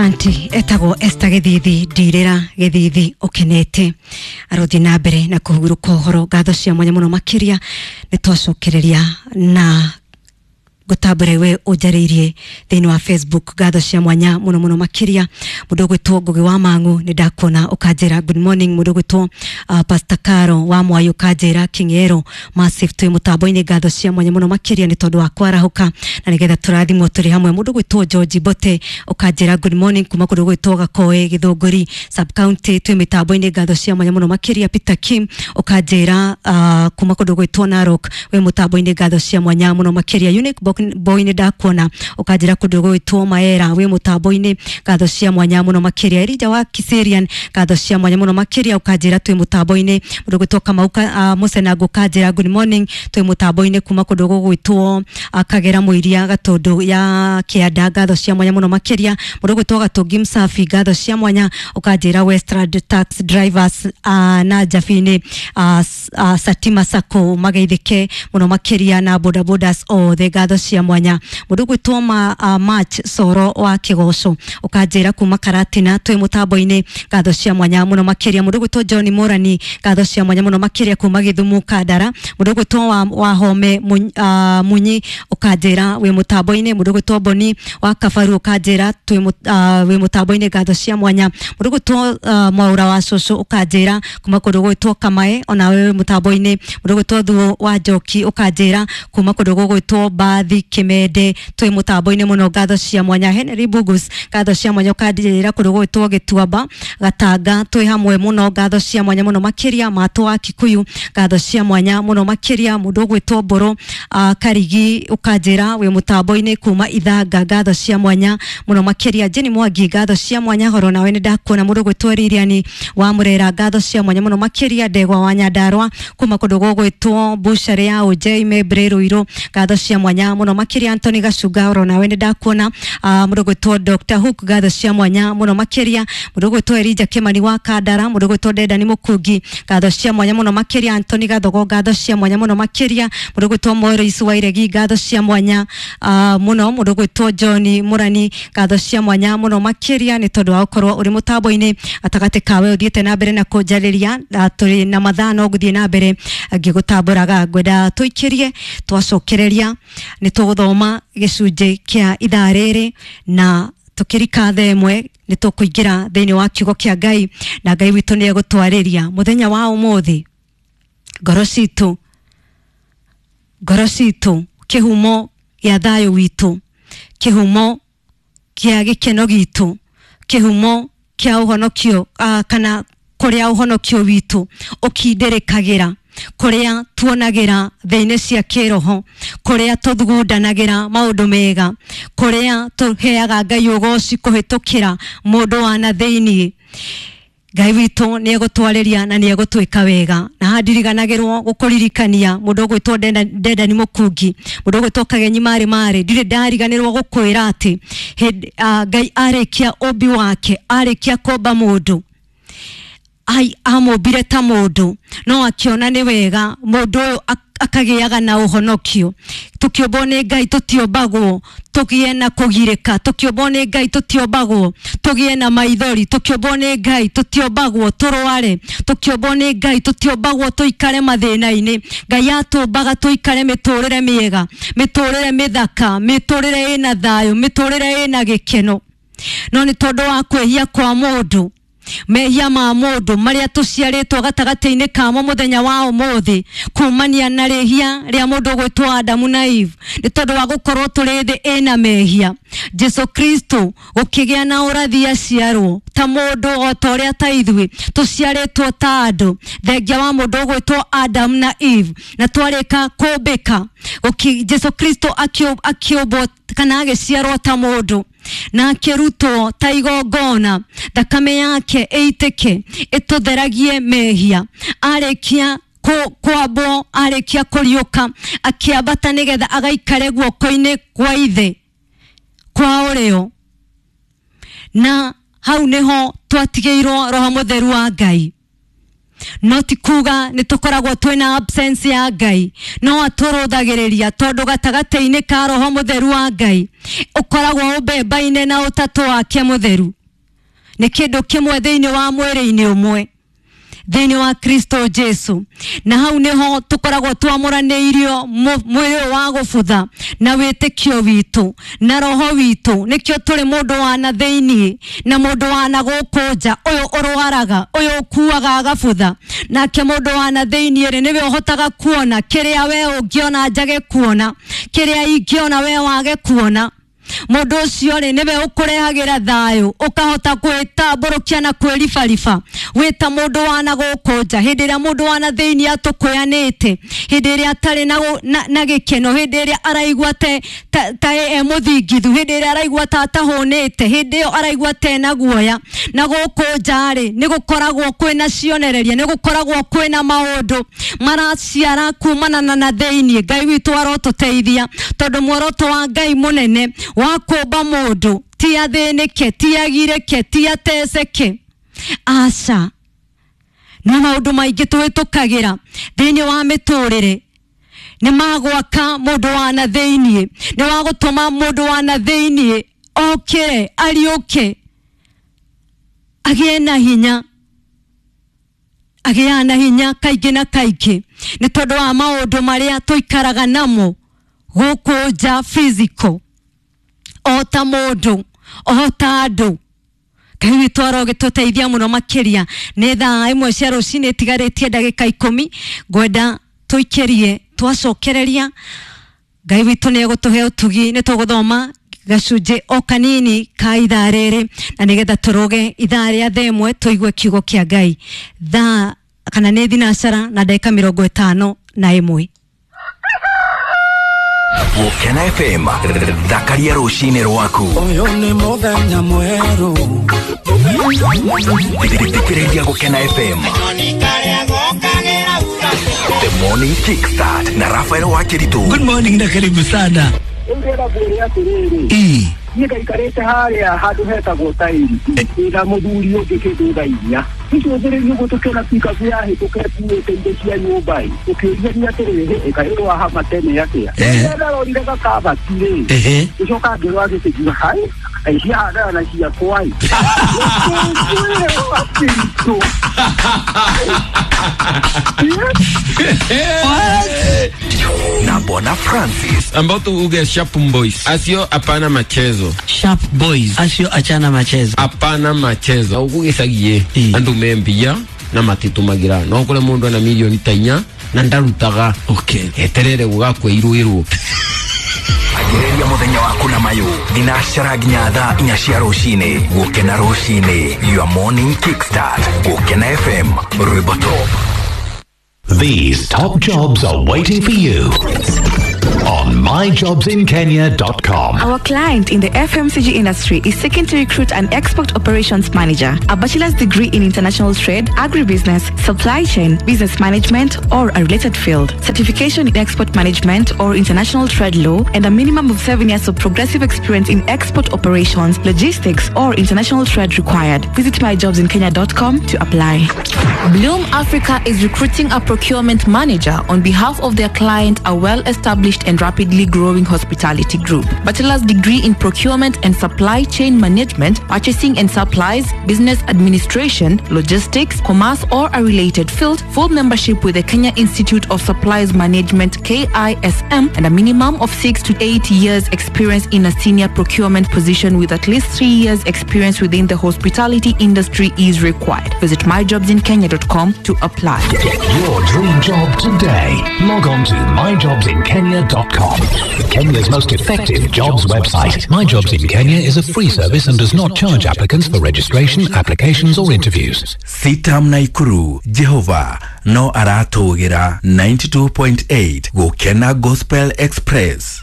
Asanti. Etagwo Esther Githithi ndirira Githithi ukenete arothi na mbere na kuhuruka uhoro. Ngatho cia mwanya muno makiria ni twacokereria na gutambura we unjarĩirie thĩinĩ wa Facebook. Ngatho cia mwanya muno muno makiria. Mũndũ ũgwĩtwo Ngugi wa Mang'u nĩ ndakuona ũkanjĩra good morning. Mũndũ ũgwĩtwo Pastor Caro wa Mwai ũkanjĩra King'ero Massive twĩ mũtambo-inĩ. Ngatho cia mwanya muno makiria nĩ tondũ wa kwarahũka na nĩgetha tũrathimwo tũrĩ hamwe. Mũndũ ũgwĩtwo George Mbote ũkanjĩra good morning kuma kũndũ gwĩtwo Gakoe Gĩthũngũri sub county twĩ mĩtambo-inĩ. Ngatho cia mwanya muno makiria. Peter Kim ũkanjĩra kuma kũndũ gwĩtwo Narok wĩ mũtambo-inĩ. Ngatho cia mwanya muno makiria. Unique Boy nĩ ndakuona ũkanjĩra kũndũ gwĩtwo Maera wĩ mũtambo-inĩ. Ngatho cia mwanya muno makiria. Elija wa Kiserian ngatho cia mwanya muno makiria ũkanjĩra twĩ mũtambo-inĩ. Mũndũ gwĩtwo Kamau Mũcenango ũkanjĩra good morning twĩ mũtambo-inĩ kuma kũndũ gũgwĩtwo Kagera Mũiria Gatũndũ ya Kĩanda. Ngatho cia mwanya muno makiria. Mũndũ gwĩtwo Gatũngi Msafi ngatho cia mwanya ũkanjĩra Westland Tax Drivers na Njabini Satima Sacco mageithĩke muno makiria na boda bodas othe. Ngatho cia mwanya. Mũndũ gwĩtwo March Soro wa Kĩgoco ũkanjĩra kuma Karatina twĩ mũtambo-inĩ. Ngatho cia mwanya muno makiria. Mũndũ gwĩtwo John Morani ngatho cia mwanya muno makiria kuma Gĩthumo Kandara. Mũndũ gwĩtwo wa Home Munyi ũkanjĩra wĩ mũtambo-inĩ. Mũndũ gwĩtwo Boni wa Kabaru ũkanjĩra wĩ mũtambo-inĩ. Ngatho cia mwanya. Mũndũ gwĩtwo Mwaura wa Cũcũ ũkanjĩra kuma kũndũ gwĩtwo Kamae onawe wĩ mũtambo-inĩ. Mũndũ gwĩtwo Thuo wa Njoki ũkanjĩra kuma kũndũ gũgwĩtwo Mbathi Kimende twĩ mũtambo-inĩ mũno. Ngatho cia mwanya. Henry Bugus ngatho cia mwanya ũkanjĩra kũndũ gũgwĩtwo Gĩtuamba Gatanga twĩ hamwe mũno. Ngatho cia mwanya mũno makiria. Matũ wa Kikuyu ngatho cia mwanya mũno makiria. Mũndũ ũgwĩtwo Mbũrũ Karigi ũkanjĩra wĩ mũtambo-inĩ kuma Ithanga. Ngatho cia mwanya mũno makiria. Jenny Mwangi ngatho cia mwanya horo nawe nĩ ndakuona. Mũndũ ũgwĩtwo Lilian wa Murera ngatho cia mwanya mũno makiria. Ndegwa wa Nyandarua kuma kũndũ gũgwĩtwo Bucharĩ ya Ũnjei Membre Ruiru ngatho cia mwanya mũno makiria. Anthony Gacunga horo nawe nĩ ndakuona. Mũndũ ũgwĩtwo Dr Hook ngatho cia mwanya mũno makiria. Mũndũ ũgwĩtwo Elijah Kimani wa Kandara. Mũndũ ũgwĩtwo Dendani Mũkungi ngatho cia mwanya mũno makiria. Anthony Gathogo ngatho cia mwanya mũno makiria. Mũndũ ũgwĩtwo Morris Wairegi ngatho cia mwanya mũno. Mũndũ ũgwĩtwo John Murani ngatho cia mwanya mũno makiria nĩ tondũ wa gũkorwo ũrĩ mũtambo-inĩ gatagatĩ kawe ũthiĩte na mbere na kũnjarĩria. Tũrĩ na mathaa no ngũthiĩ na mbere ngĩgũtambũraga. Ngwenda tũikĩrie twacokereria nĩ tũgũthoma gĩcunjĩ kĩa ithaa rĩrĩ na tũkĩrika thaa ĩmwe nĩ tũkũingĩra thĩinĩ wa kiugo kĩa Ngai na Ngai witũ nĩ egũtwarĩria mũthenya wa ũmũthĩ. Ngoro citũ, ngoro citũ, kĩhumo gĩa thayũ witũ, kĩhumo kĩa gĩkeno gitũ, kĩhumo kĩa ũhonokio kana kũrĩa ũhonokio witũ ũkindĩrĩkagĩra, kũrĩa tuonagĩra thĩinĩ cia kĩroho, kũrĩa tũthugundanagĩra maũndũ mega, kũrĩa tũheaga Ngai ũgoci kũhĩtũkĩra mũndũ wa na thĩinĩ. Ngai witũ nĩ egũtwarĩria na nĩ egũtwĩka wega. Na haha ndiriganagĩrwo gũkũririkania mũndũ ũgwĩtwo Dendani Mũkungi, mũndũ ũgwĩtwo Kagenyi Marĩ Marĩ, ndirĩ ndariganĩrwo gũkwĩra atĩ Ngai arĩkia ũmbi wake, arĩkia kũmba mũndũ, amũmbire ta mũndũ no akĩona nĩ wega mũndũ ũyũ akagĩaga na ũhonokio. Tũkĩũmbwo nĩ Ngai tũtiombagwo tũgĩe na kũgirĩka, tũkĩũmbwo nĩ Ngai tũtiombagwo tũgĩe na maithori, tũkĩũmbwo nĩ Ngai tũtiombagwo tũrware, tũkĩũmbwo nĩ Ngai tũtiombagwo tũikare mathĩna-inĩ. Ngai atũmbaga tũikare mĩtũrĩre mĩega, mĩtũrĩre mĩthaka, mĩtũrĩre ĩna thayũ, mĩtũrĩre ĩna gĩkeno. No nĩ tondũ wa kwĩhia kwa mũndũ, mehia ma mũndũ marĩa tũciarĩtwo gatagatĩ-inĩ kamo mũthenya wa ũmũthĩ, kumania na rĩhia rĩa mũndũ ũgwĩtwo Adamu na Eve, nĩ tondũ wa gũkorwo tũrĩ thĩ ĩna mehia. Jesu Kristo gũkĩgĩa na ũrathi aciarwo ta mũndũ o ta ũrĩa ta ithuĩ tũciarĩtwo ta andũ, thengia wa mũndũ ũgwĩtwo Adamu na Eve, na twarĩka kũmbĩka Jesu Kristo akĩũmbwo kana agĩciarwo ta mũndũ na akĩrutwo ta igongona, thakame yake ĩitĩke ĩtũtheragie mehia. Arĩkia kwambwo, arĩkia kũriũka, akĩambata nĩgetha agaikare guoko-inĩ kwa ithe kwa ũrĩo, na hau nĩho twatigĩirwo Roho Mũtheru wa Ngai. No ti kuga nĩ tũkoragwo twĩna absence ya Ngai, no atũrũthagĩrĩria tondũ gatagatĩ-inĩ ka Roho Mũtheru wa Ngai ũkoragwo ũmbembaine na ũtatũ wake mũtheru. Nĩ kĩndũ kĩmwe thĩinĩ wa mwĩrĩ-inĩ ũmwe thĩinĩ wa Kristo Jesu. Na hau nĩho tũkoragwo twamũranĩirio mwĩrĩ ũyũ wa gũbutha na wĩtĩkio witũ na roho witũ. Nĩkĩo tũrĩ mũndũ wa na thĩinĩ na mũndũ wa na gũkũ nja, ũyũ ũrwaraga, ũyũ ũkuaga agabutha. Nake mũndũ wa na thĩinĩ rĩ, nĩwe ũhotaga kuona kĩrĩa we ũngĩona njage kuona, kĩrĩa ingĩona we wage kuona. Mũndũ ũcio rĩ, nĩwe ũkũrehagĩra thayũ, ũkahota gwĩtambũrũkia na kwĩribariba wĩta mũndũ wa na gũkũ nja. Hĩndĩ ĩrĩa mũndũ wa na thĩinĩ atũkũyanĩte, hĩndĩ ĩrĩa atarĩ na gĩkeno, hĩndĩ ĩrĩa araigua ta e mũthingithu, hĩndĩ ĩrĩa araigua ta atahũnĩte, hĩndĩ ĩyo araigua ta ena guoya. Na gũkũ nja rĩ, nĩ gũkoragwo kwĩna cionereria, nĩ gũkoragwo kwĩna maũndũ maraciara kumana na thĩinĩ. Ngai witũ arotũteithia, tondũ muoroto wa Ngai mũnene wa kũmba mũndũ ti athĩnĩke, ti agirĩke, ti ateceke. Aca, no maũndũ maingĩ tũhĩtũkagĩra thĩinĩ wa mĩtũrĩre nĩ magwaka mũndũ wa na thĩinĩ, nĩ wa gũtũma mũndũ wa na thĩinĩ okĩre, ariũke, agĩe na hinya, agĩaga na hinya kaingĩ na kaingĩ nĩ tondũ wa maũndũ marĩa tũikaraga namo gũkũ nja physical, o ta mũndũ, o ta andũ. Ngai witũ arogĩtũteithia mũno makĩria. Nĩ thaa 1 cia rũcinĩ itigarĩtie ndagĩka 10, ngwenda tũikĩrie twacokereria. Ngai witũ nĩ egũtũhe ũtugi, nĩ tũgũthoma gacunjĩ o kanini ka ithaa rĩrĩ, na nĩgetha tũrũge ithaa rĩa thaa 1 tũigue kiugo kĩa Ngai. Thaa kana nĩ thinacara na ndagĩka 51. Gũkena FM, thakaria rũcinĩ rwaku. Ũyũ nĩ mũthenya mwerũ. Thikĩrĩria Gũkena FM. The Morning Kickstart na Rafael Wakiritu. Good morning na karibu sana. Ndĩrenda ngwĩre atĩrĩrĩ, niĩ ngaikarĩte harĩa handũ hetagwo tairi na mũthuri ũngĩ kĩndũ thaa 4 tũcũthĩrĩrie ũguo tũkĩona pikabu yahĩtũka ĩkuĩte indo cia nyũmba ĩ, tũkĩũria atĩrĩrĩ, ĩkaĩ rwahama tene atĩa? Rĩrĩa ndarorire gakabati rĩ, ngĩcoka ngĩrora gĩtĩ hai ai ciahandana na ciakwa ĩ. Ngĩkwĩra Na Bwana Francis. Ambao tu uge Sharp Boys. Asio hapana machezo. Sharp Boys. Asio achana machezo. Hapana machezo. Ugugicagie andu membia na matitumagira. No kure mundu ana milioni ta 4 na ndarutaga. Okay. Eterere gugakweirwo. Agĩrĩria mũthenya waku na mayũ thinacara nginya thaa 4 cia rũcinĩ. Gũkena rũcinĩ, your morning kickstart. Gũkena FM, rwĩmbo top. These top jobs are waiting for you on myjobsinkenya.com. Our client in the FMCG industry is seeking to recruit an export operations manager, a bachelor's degree in international trade, agribusiness, supply chain, business management, or a related field, certification in export management or international trade law, and a minimum of 7 years of progressive experience in export operations, logistics, or international trade required. Visit myjobsinkenya.com to apply. Bloom Africa is recruiting a procurement manager on behalf of their client, a well-established and rapidly growing hospitality group. Bachelor's degree in procurement and supply chain management, purchasing and supplies, business administration, logistics, commerce, or a related field, full membership with the Kenya Institute of Supplies Management KISM, and a minimum of 6 to 8 years experience in a senior procurement position with at least 3 years experience within the hospitality industry is required. Visit myjobsinkenya.com to apply. Get your dream job today. Log on to myjobsinkenya.com. Kenya's most effective jobs website. My Jobs in Kenya is a free service and does not charge applicants for registration, applications or interviews. Sitam Naikuru, Jehova no aratũgĩra 92.8 Gũkena Gospel Express.